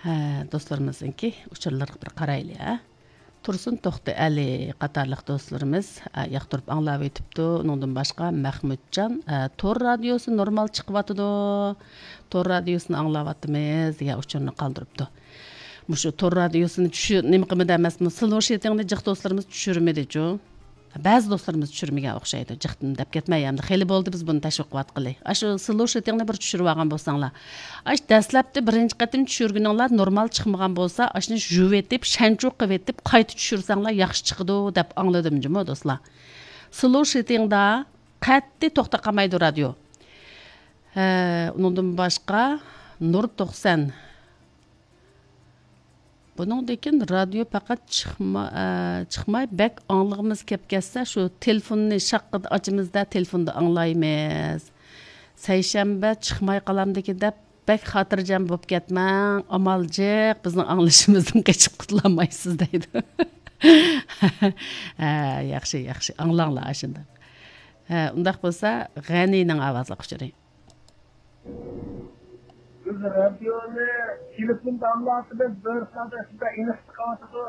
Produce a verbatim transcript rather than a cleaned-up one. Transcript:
ھە، دوستلىرىمىزنىڭكى ئۇچۇرلىرىغا بىر قارايلى، ھە. تۇرسۇن توختى ئەلى قاتارلىق دوستلىرىمىز، ھە، ياقتۇرۇپ ئاڭلاۋېتىپتۇ. ئۇنىڭدىن باشقا مەخمۇتجان، ھە، تور رادىيوسى نورمال چىقىۋاتىدۇ. تور رادىيوسىنى ئاڭلاۋاتىمىز دېگەن ئۇچۇرنى قالدۇرۇپتۇ. مۇشۇ تور رادىيوسىنى چۈشۈر-، نېمە قىلمىدى ئەمەسمۇ؟ سلوشىتىڭنى جىق دوستلىرىمىز چۈشۈرمىدىچۇ؟ بەزى دوستلىرىمىز چۈشۈرمىگەن ئوخشايدۇ. جىقتىن دەپ كەتمەي، ئەمدى خېلى بولدى بىز بۇنى تەشۋىق قىلىۋاتقىلى. ئاشۇ سلوشىتىڭنى بىر چۈشۈرۈۋالغان بولساڭلار. ئاش دەسلەپتە بىرىنچى قېتىم چۈشۈرگىنىڭلار نورمال چىقمىغان بولسا، ئاشۇنى يۇۋېتىپ، شەنچۇ قىلىۋېتىپ، قايتا چۈشۈرسەڭلار ياخشى چىقىدۇ دەپ ئاڭلىدىم جۇمۇ دوستلار. سلوشىتىڭدا قەتئىي توختاپ قالمايدۇ رادىيو. ھە، ئۇنىڭدىن باشقا نۇر توقسان. بۇنىڭدىن كېيىن رادىيو پەقەت چىقما-، ئە، چىقماي، بەك ئاڭلىغۇمىز كەپ كەتسە، شۇ تېلېفوننى شاققىدە ئاچىمىزدا، تېلېفوندا ئاڭلايمىز. سەيشەنبە چىقماي قالامدىكىن دەپ، بەك خاتىرجەم بولۇپ كەتمەڭ، ئامال جىق، بىزنىڭ ئاڭلىشىمىزدىن قېچىپ قۇتۇلالمايسىز دەيدۇ. ھە، ياخشى، ياخشى، ئاڭلاڭلار ئاشۇنداق. ھە، ئۇنداق بولسا، غەنىنىڭ ئاۋازلىق ئۇچۇرى. بىز رادىيونى تېلېفوندا ئاڭلاۋاتىمىز، بىر سائەت ئىچىدە ئېنىق چىقىۋاتىدۇ.